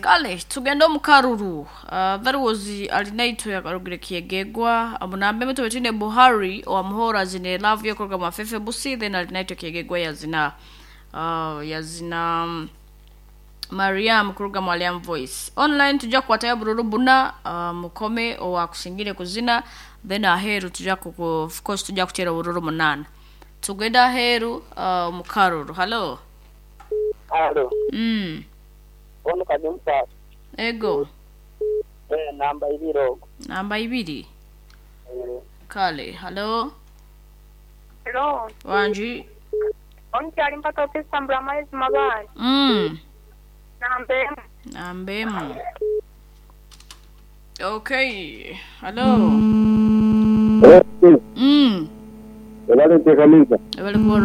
Kale tugende omu karuru. That was Alinaitwe akarugire Kyegegwa omunambe emito betwine Buhari owamuhora azine love yokuruga mu Afefe Busi, then Alinaitwe Kyegegwa yazina yazina Mariam kuruga mu Aliam Voice. Online tujja kukwatayo bururu buna, mukome owakusingire kuzina, then aheeru tujja kuku, of course tujja kuteera obururu munana. Tugende aheeru omu karuru. Hallo. Halo. Ono kadi omusaadha. Ego. Eh, namba ibiri ogwo. Namba ibiri. Eh. Kale, hallo. Hello. Wangi. Omukyali mpaka okwesambula amaizi mabaale. Namba emu. Namba emu. Okay. Hallo. Ebale nteekaniza. Ebale kuba.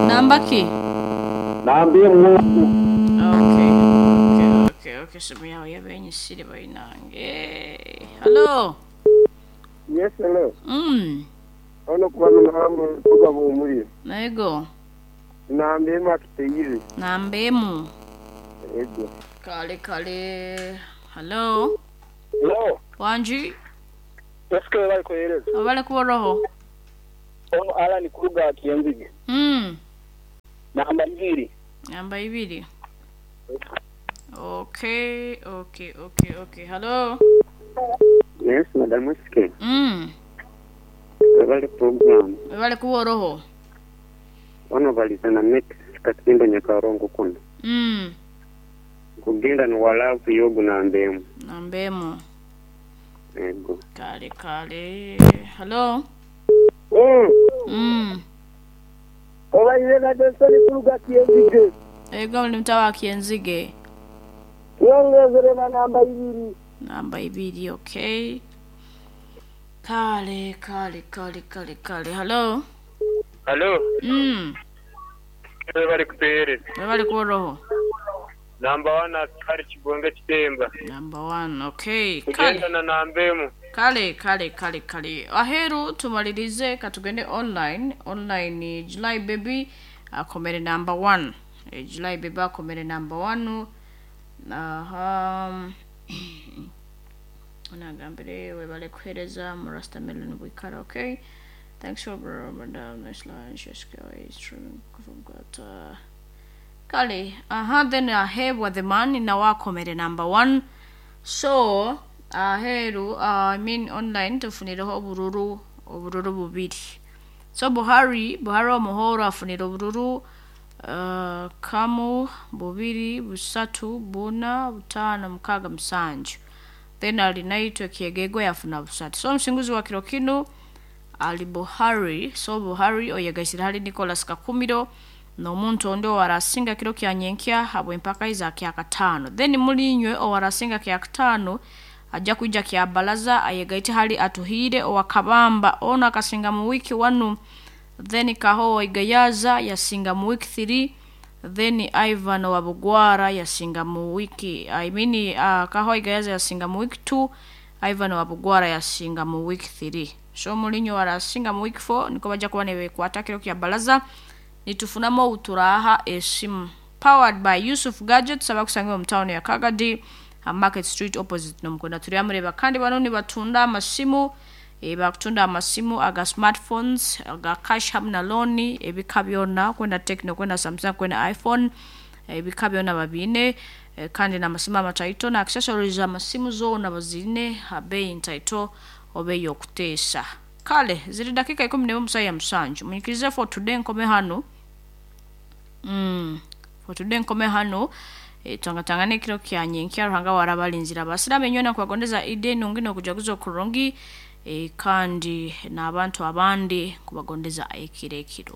Namba ki? Namba emu. Okay. Simu yawe yabenyisire bainange. Hello. Yes, hello. Ono kuba namba kuba bumuli. Nego. Namba emu atuteire. Namba emu. Ego. Kale kale. Hello. Hello. Wangi. Eske bali kuhereza. Abale kuba. Ono Alan kuruga Kienzige. Namba ibiri. Namba ibiri. Okay. Hello. Yes, Madam SK. Ebale program. Abale kuba roho. Ono balizana met katimba nyakarongo kuno. Kugenda ni walavu yogu namba emu. Namba emu. Ego. Kale kale. Hello. Obaire na Johnson kuruga Kienzige. Ego ni mtawa Kienzige. Yongezere na namba ibiri. Namba ibiri, okay. Kale kale kale kale kale. Hello. Hello. Bali kutereza. Bali kuroho. Namba 1 askari Kibonge Kitemba. Number 1, okay. Kugenda na namba emu. Kale kale kale kale. Aheru tumalirize katugende online. Online July baby akomere number 1. July baby akomere number 1. Aha. Onagambire webale kuhereza Murasta Melon Wikara, okay. Thanks for madam nice lunch. Streaming from Gata. Kale, aha, then ahebwa the man na wakomere number 1. So aheru, I mean online tufunireho obururu bubiri. So Buhari omuhoro afunire obururu kamu bubiri busatu buna butano mukaga musanju. Then Alinaitwe Kyegegwa yafuna busatu. So omusinguzi wa kiro kino ali Buhari. So Buhari oyegaisire hali Nicholas Kakumiro n'omuntu ondi owarasinga kiro kya nyenkya habwe empaka iza kyakataano. Then mulinywe owarasinga kyakataano ajja kuija kya balaza ayegaite hali Atuhire owakabamba ono akasinga mu wiki 1. Then Kaho Igayaza yasinga mu wiki 3. Then Ivan Wabugwara yasinga mu wiki, I mean Kaho Igayaza yasinga mu wiki 2, Ivan Wabugwara yasinga mu wiki 3. So mulinyo warasinga mu wiki 4 niko bajja kuba nebekwata kiro kya balaza. Nitufunamo uturaha esimu powered by Yusuf Gadgets abakusangibwa mu town ya Kagadi, Market Street opposite nomukwenda turyamureba. Kandi bano nibatunda amasimu, bakutunda amasimu aga smartphones aga cash hamwe na loan, ebika byona kwenda Tecno, kwenda Samsung, kwenda iPhone, ebika byona babine, kandi n'amasimu amataito na accessories amasimu zoona bazine abeyi ntaito obe yokuteesa. Kale ziri dakika 11 musayi ya musanju. Munyikirize for today nkome hano. For today nkome hano. Twangatangane kiro kya nyenkya ruhanga warabalinzira abasiramu enywena kubagondeza ide nungi n'okujaguza okurungi, kandi n'abantu abandi kubagondeza ekiro ekirungi.